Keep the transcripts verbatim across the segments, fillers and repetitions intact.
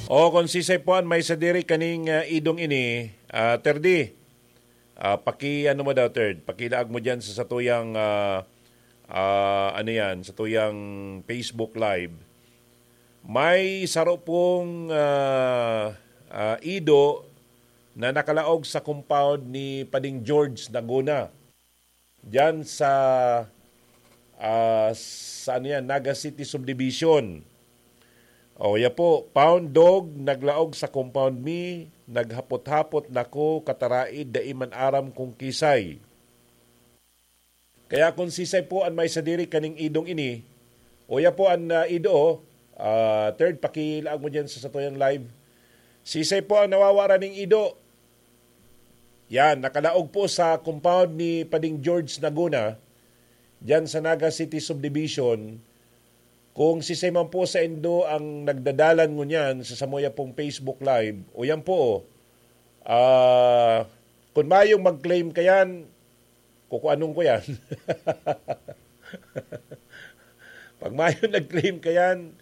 O, kung sisay po an may sadiri kaning, ah, idong ini, ah, Terdi, ah, paki-ano mo daw, Third, pakilaag mo diyan sa satuyang, ah, ah, ano yan, satuyang Facebook Live. May saro pong, ah, ah, ido na nakalaog sa compound ni Pading George Naguna. Diyan sa, ah, sa ano yan, Naga City Subdivision. O, ya po, "Found dog, naglaog sa compound mi, naghapot-hapot nako, kataraid, dai man aram kung kisay." Kaya kung sisay po an may sadiri kaning idong ini, o ya po an, ah, ido, ah, Third, pakilaag mo diyan sa satuyang live. Sisay po ang nawawara ning ido? Yan, nakalaog po sa compound ni Pading George Naguna, diyan sa Naga City Subdivision. Kung sisay man po sa indo ang nagdadalan ngunyan sa samuya pong Facebook Live, o yan po, oh, ah, kung mayong mag-claim ka yan, kukuanon ko yan. Pag mayong nag-claim ka yan,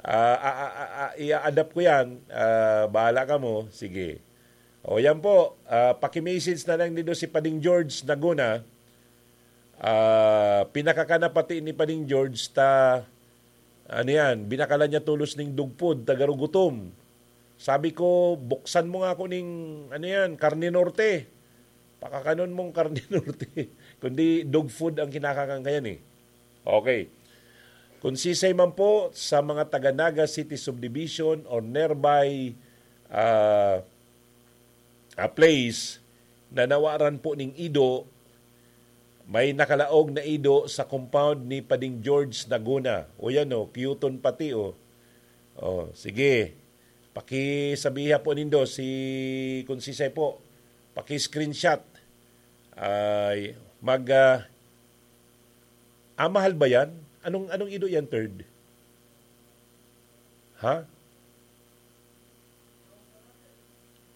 ah, a- a- a- a- i-adapt ko yan, ah, bahala ka mo, sige. O yan po, ah, paki-message na lang nindo si Pading George Naguna. Ah, pinakakana pati ni Pading George ta, ano yan, binakalan niya tolos ning dog food, ta garo gutom. Sabi ko, "Buksan mo nga ako ning, ano yan, karne norte. Pakakanon mong karne norte." Kundi dog food ang kinakakan kayan eh. Okay. Kung sisay man po sa mga taga Naga City Subdivision or nearby, ah, ah, place na nawaran po ning ido, may nakalaog na ido sa compound ni Pading George Naguna. O yan o, cute pati o. O, sige. Pakisabiha po nindo si, kung sisay po, paki-screenshot. Ay, mag, ah, ah, mahal ba yan? Anong, anong ido yan, Third? Ha?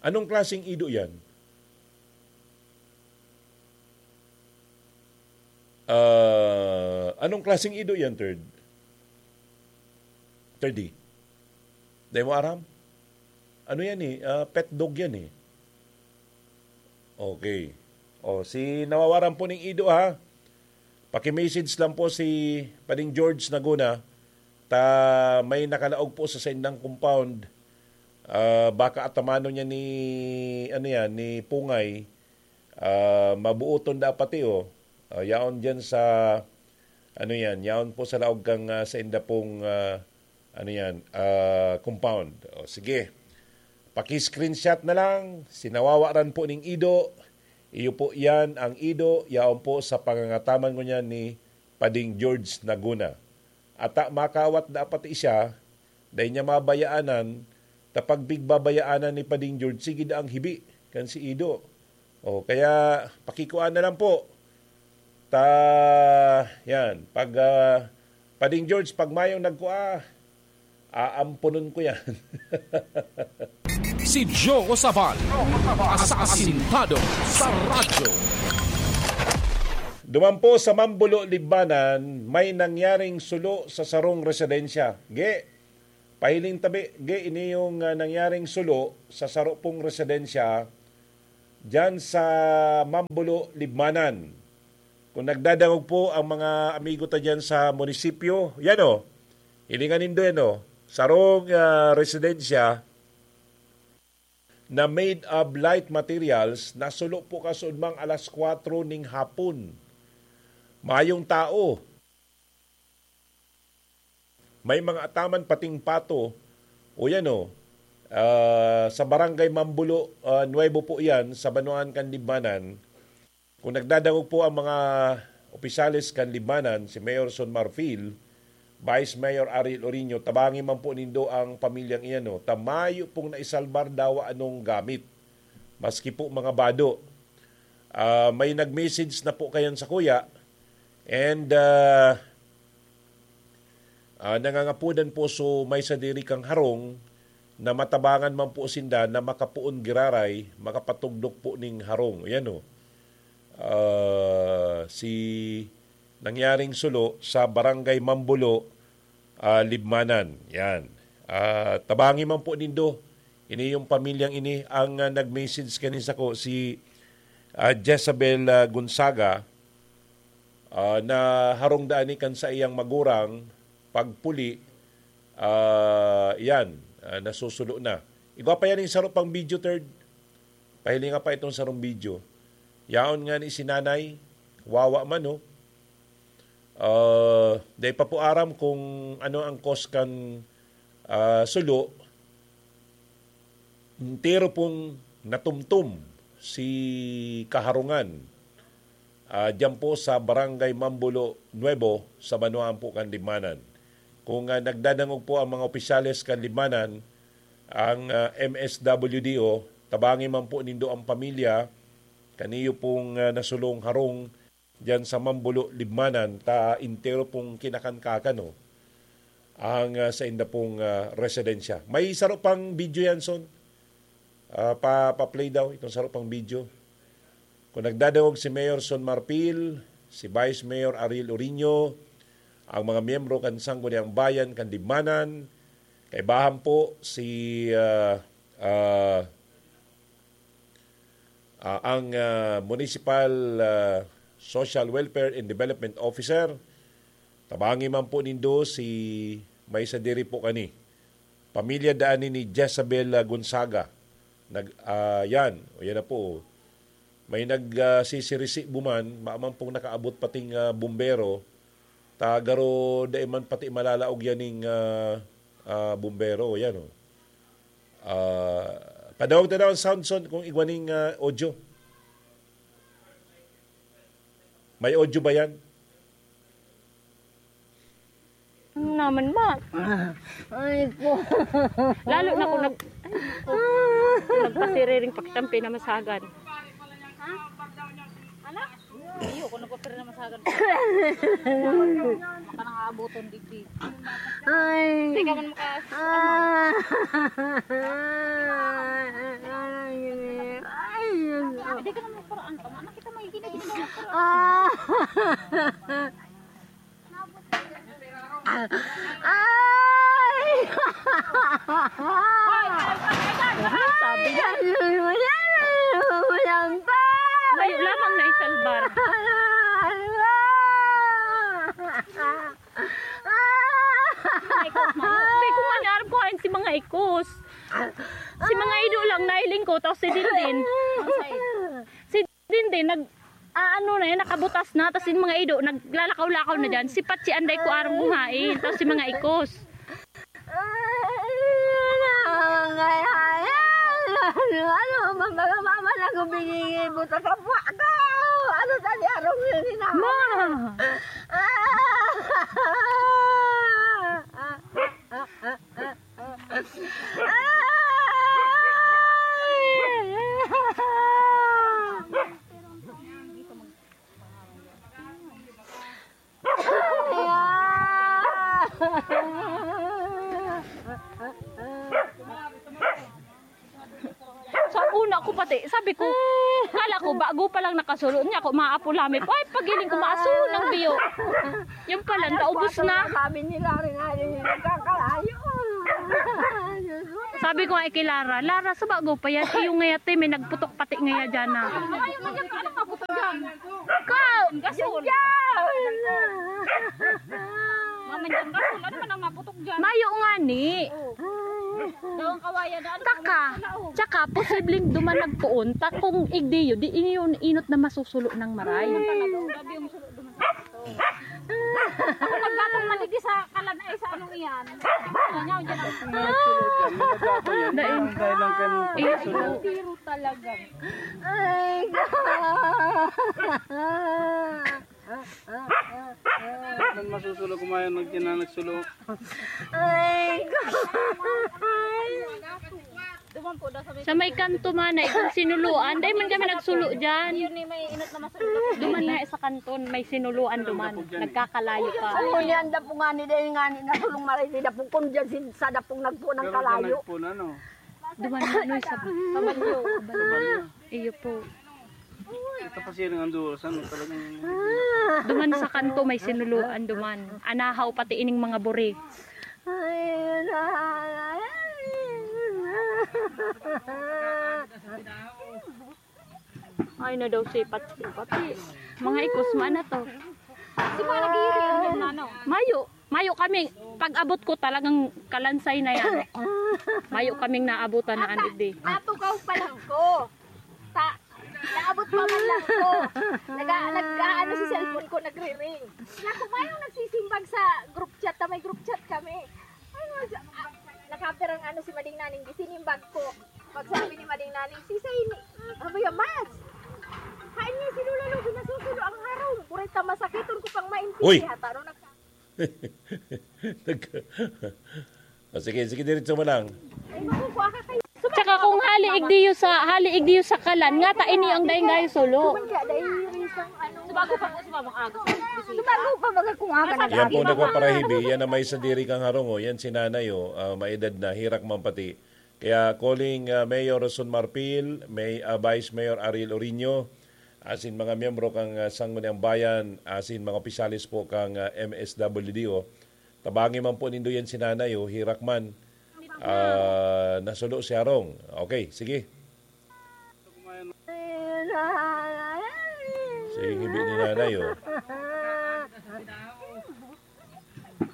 Anong klaseng ido yan? Ah, anong klaseng ido yan, Third? Third D? Dai mo aram? Ano yan eh? Ah, pet dog yan eh. Okay. O, si nawawaran po ning ido, ha? Paki-message lang po si Pading George Naguna, ta may nakalaog po sa saindang compound. Ah, baka atamanon niya ni, ano yan, ni Pungay. Ah, mabuoton dapat eh, oh. Ah, yaon dyan sa, ano yan, yaon po sa laog kang, ah, sainda pong, ah, ano yan, ah, compound. O, sige. Paki-screenshot na lang, si nawawaran po ning ido. Iyo po yan, ang ido, yaon po sa pangangataman ngunyan ni Pading George Naguna. Ata makawat dapat siya, dai niya mabayaanan, ta pag pigbabayaanan ni Pading George, sige da ang hibi, kan si ido. O, kaya pakikuan na lang po. Ta, yan, pag, ah, Pading George, pag mayong nagkua, aamponon ko yan. Si Joe Sabal, asasintado sa radyo. Duman po sa Mambulo, Libmanan, may nangyaring sulo sa sarong residensya. Ge, pahiling tabi, ge, ini yung, ah, nangyaring sulo sa saro pong residensya dyan sa Mambulo, Libmanan. Kung nagdadangog po ang mga amigo ta dyan sa munisipyo, yan o, hilingan nindo yan o, sarong, ah, residensya na made of light materials, nasulo po kasuodmang alas kwatro ning hapon. Mayong tao. May mga ataman pating pato. O yan o, ah, sa Barangay Mambulo, ah, Nuevo po yan, sa Banwaan kan Libmanan. Kung nagdadangog po ang mga opisyales kan Libmanan, si Mayor Son Marfil, Vice Mayor Ariel Orino, tabangi man po nindo ang pamilyang iyan, no? Ta mayo pong naisalbar dawa anong gamit, maski po mga bado. Ah, may nag-message na po kayan sa kuya, and, ah, ah, nangangapodan po, so may sadiri kang harong na matabangan man po sinda na makapoon giraray, makapatugdok po ning harong. Ayan o. Ah, si nangyaring sulo sa Barangay Mambulo, ah, Libmanan. Yan. Ah, tabangi man po nindo. Ini yung pamilyang ini ang, ah, nag-message kanin sako, si, ah, Jezabel, ah, Gonzaga, ah, na harong daan ni kan saiyang magurang pagpuli, ah, yan, ah, nasusulo na. Igwa pa yan yung saro pang video, third. Pahilinga pa itong sarong video. Yaon nga ni si nanay, wawa man, oh. Ah, dai pa po aram kung ano ang cause kan, ah, sulo. Entero pong natumtom si kaharungan, ah, diyan po sa Barangay Mambulo Nuevo, sa banwaan po kan Libmanan. Kung, ah, nagdadangog po ang mga opisyales kan Libmanan, ang, ah, M S W D O, tabangi man po nindo ang pamilya, kaniyo pong, ah, nasulong harong diyan sa Mambulo, Libmanan, ta entero pong kinakan-kakan, no, ang, ah, sainda pong, ah, residensya. May saro pang video yan, Son. Ah, pa, pa-play daw itong saro pang video. Kung nagdadangog si Mayor Son Marfil, si Vice Mayor Ariel Orino, ang mga miyembro kan Sangguniang Bayan kan Libmanan, kaibahan po si, ah, ah, ah, ang, ah, Municipal, ah, Social Welfare and Development Officer. Tabangi man po nindo si may sadiri po kani. Pamilya daan ni, ni Jezabel, ah, Gonzaga. Nag, ah, yan. O, yan na po. May nag, ah, sisirisi buman, maaman pong nakaabot pating, ah, bumbero. Ta garo dai man pati malalaog yan ning, ah, ah, bumbero. Yan, oh. Ah, padawag ta daw ang sound, Son, kung igwa ning, ah, audio. May audio ba yan? Ano naman, ma? Ay, ko. Lalo na kung nag-, ay, ko. Kung nagpasiriring pakitampi na masagan. Ha? Ano? Iyo, kung nagpasiriring na masagan. Maka nang aaboton, digdi. Ay. Hindi ka man maka-, ah. Ano? Ay, Diyos ko. Hindi ka naman magparaan pa. Anak kita, may ginagawa mo. Ah. Ay! Sabi niya. Ay, ay, ay, ay, ay, ay, pa! Layo lamang na isalbar. Sabi ko nga, niarap ko hain si mga ikos. Si mga ido lang, nahiling ko, tapos si Dindin. Si Dindin, nag, aano na yan, nakabutas na, tapos yung mga ido, naglalakaw-lakaw na dyan. Si Patsi, anday ko arong buhain, tapos si mga ikos. Ano, mama, mama, naku, binigay mo sa kapwa ko. Ano, tadi, arong yun, ina? Ma! Ah! Ah! Ah! Ah! Ah! Ay! Sa una ko pati, sabi ko, kala ko, bago pa lang nakasulo niya, ako maapo lamit. Ay, pagiling ko, maaso ng biyo. Yung pala, naubos na. Sabi nila rin, ay, nagkakalayo. Sabi ko nga kay Lara, "Lara, sa bago pa yan, iyo ngaya te, may nagputok pati ngaya dyan na." Ano nga putok dyan? Ikaw! Gasol. Yan! Mama dyan, gasol. Ano man ang naputok dyan? Mayo nga ni. Daw ang kawayan na ano, Taka, wala, oh. Tsaka, posibleng duman nagpoon, ta kung igdiyo, di inyo inot na masusulo ng maray. Talaga, oh, grabe yung sulo duman. Ako naggatong maligi sa kalan ay sa anong iyan. Ano niya, dyan ang Mga nagsulo dyan, may nagkakayan. Dahil lang kayo Iyo. Tiro talaga. Ay, ko. Saan masusulo kumayan, nagkina-, nagsulo? Ay, ko. Duman po daw sa may Sa may kanto man, ay kung sinuluan, dahil man kami nagsulo dyan. Yun ni may inot na masulo. Duman na sa kanton, may sinuluan duman. Nagkakalayo pa. Ano niya, ang dapo nga ni, dahil nga ni, nasulong maray, di dapo kun dyan, sin-, sa dapong nagpo ng Pero kalayo. Nagpo na, no? Duman na, no, sa Kabalyo. Kabalyo. Iyo po. Ito pa siya ng Honduras, ano, talagang Duman sa kanto, may sinuluan duman. Anahaw, pati ining mga buri. Ay, na daw si Pati. Pati. Mga ikos, maana to. Di ba nag-iiri ang nano? Mayo. Mayo kami. Pag-abot ko, talagang kalansay na yan. Mayo kaming naabutan na Ata, anigdi. Natukaw pa lang ko. Ta, naabot pa man lang ko. Naga, nag, ano si cellphone ko, nagre-ring. Naku, mayong nagsisimbag sa group chat, ta may group chat kami. Ay, mas, ah, nakapirang ano si Mading Naning, di sinimbag ko. Pagsabi ni Mading Naning, "Si Say ni, abaya mas." Hain niya si Lola Lobi nasusulo ang harong. Buray ta masakiton ko pang maintindi. Uy! Hataro na. Nag- Ah, sige, sige, diretso mo lang. Ay, naku, kuha ka kayo. Tsaka kung hali igdiyo sa, hali igdiyo sa kalan, nga ta ini ang daing gayo sulo. Subago pa po, sumabang agos. Subago pa, mga kung aga na. Yan po, nagpaparahibi. Yan ang may sadiri kang harong, oh. Yan si nanay, oh. Ah, maedad na, hirak man pati. Kaya calling, ah, Mayor Roson Marfil, may, ah, Vice Mayor Ariel Orino, asin mga miyembro kang, ah, Sangguniang Bayan, asin mga opisyales po kang, ah, M S W D O, tabangi man po nindo yan si nanay, oh, hirak man. Ah, nasulo si harong. Okay, sige. Sige, hibi ni nanay, oh.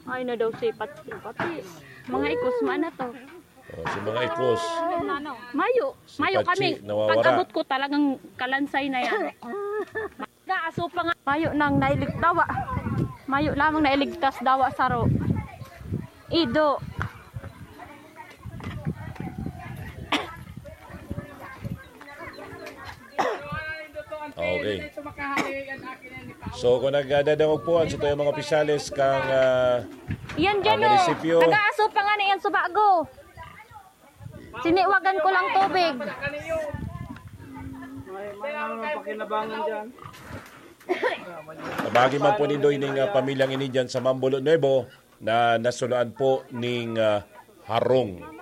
Ay, na daw si Pati. Pati. Mga ikos, maana to. Oh, si mga ikos. Mayo. Si Mayo Pachi, kami. Nawawara. Pag-abot ko, talagang kalansay na yan. Nag-aaso pa nga. Mayo nang nailig-, dawa. Mayo lamang nailigtas, dawa saro. Ido. Okay. So, kung nagdadangog po, ang sa tuyang mga opisyales kang, ah, Yan dyan, ah, oh. Munisipyo. Nag-aaso pa nga na yan sa bago. Siniwagan ko lang tubig. May, may ano lang pakinabangan dyan. Tabagi man po nindo ining, ah, pamilyang ini dyan sa Mambulo Nuevo na nasuloan po ning, ah, harong.